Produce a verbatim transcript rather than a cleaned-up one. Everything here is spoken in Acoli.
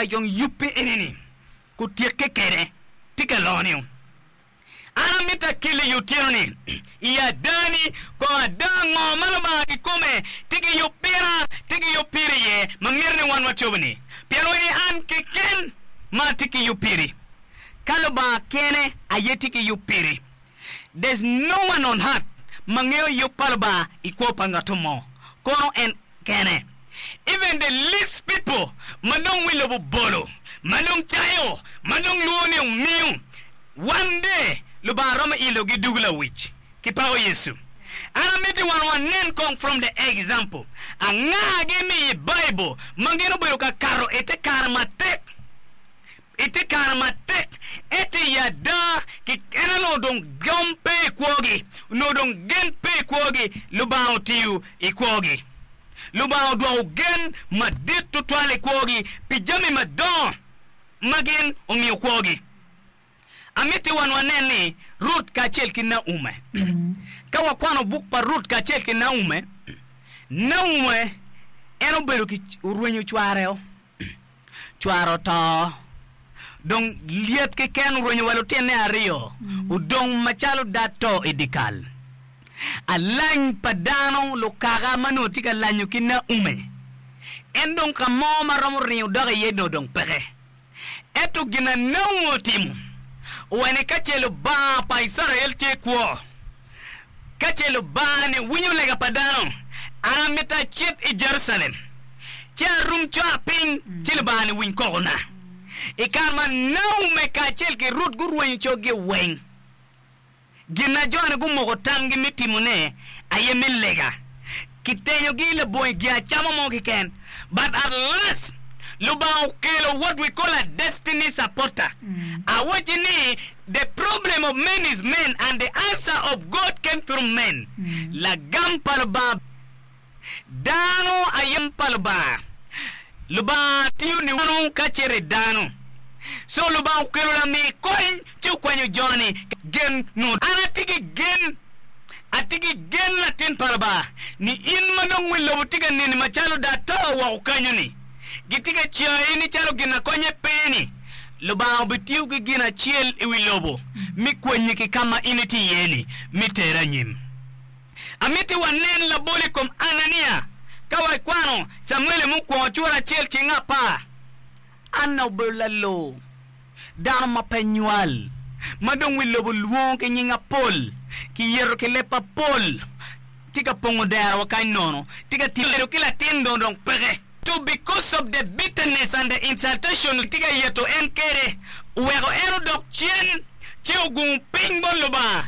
Larac dong yubbe enini kutyekke kede tye ka lonio. An amito akeli i otyeno-ni i adani kong ada ngo ma Lubanga kikome tye ki yub pira, tye ki yub piri iye ma mito ni wan wacobo-ni. Pien wani an keken ma atye ki yub piri. Ka Lubanga kene aye tye ki yub piri. There's no one on earth ma ngeyo yub pa Lubanga i kwo pa ngat mo. Kono en kene. Even the least people ma dong wi lobo bolo, ma dong cayo, ma dong lwongo ni omiyo, one day Lubanga romo ilogi dugo lawic. Kipako Yecu. An amiti wan wanen kong from the example. Angagi mi i Bible ma gin obedo ka kato i te kare matek i te kare matek ento i ada ki en onongo dong gom pe i kwogi onongo dong gen pe i kwogi Lubanga otiyo i kwogi Lubanga odwoko gen madit tutwal i kwogi pi jami madongo ma gin omiyo kwogi. Amiti wan wanen ni Ruth kacel ki Naume. Ka wakwano buk pa Ruth kacel ki Naume, Naume en obedo ki orwenyo cware-o. Cware oto. Dong lyet keken orwenyo wa lutine aryo, odong macalo dato i dyekal. Alany pa dano lukaka ma nongo tye ka lanyo ki Naume, en dong ka mo ma romo ringo dok iye nongo dong peke. Ento gin a Naume otimo owaco ni ka ce Lubanga pa Icrael tye kwo, ka ce Lubanga-ni winyo lega pa dano, an amito acit i Jerucalem, ci arum cora piny, ci Lubanga-ni winy kokona. I kare ma Naume kacel ki Ruth gurwenyo coggi weng, gin na jo-ni gumoko tamgi me timone aye me lega. Kitenyogi labongo gin acama mo keken. But at last, Lubanga okelo what we call a destiny supporter. Awacci ni the problem of men is men and the answer of God came through men. Lagam pa Lubanga dano aye pa Lubanga. Lubanga tiyo ni dano ka cito i dano. So Lubanga okelo lami kony ci okwanyo joni gen no. An atye ki gen, atye ki gen latin pa Lubanga ni in ma dong wi lobo tye ka neni macalo dato woko kanyo-ni, gitye ka cayi ni calo gin akonye pe-ni, Lubanga obitiyo ki gin acel i wi lobo mi kwanyi ki ka ma in itye iye-ni mi teri anyim. Amiti wanen labol i kom Anania ka wakwano Camuel mukwongo cura acel ceng apar. Anna obedo lalor, dano ma pe nywal, ma dong wi lobo lwongo ki nying apol, kiyeto ki leb apol, tye ka pongo dero wa kany nono, tye ka bedo ki latin dong dong peke. To because of the bitterness and the insultation tye ka yeto en kede, oweko en odok cen ci ogungo piny bot Lubanga.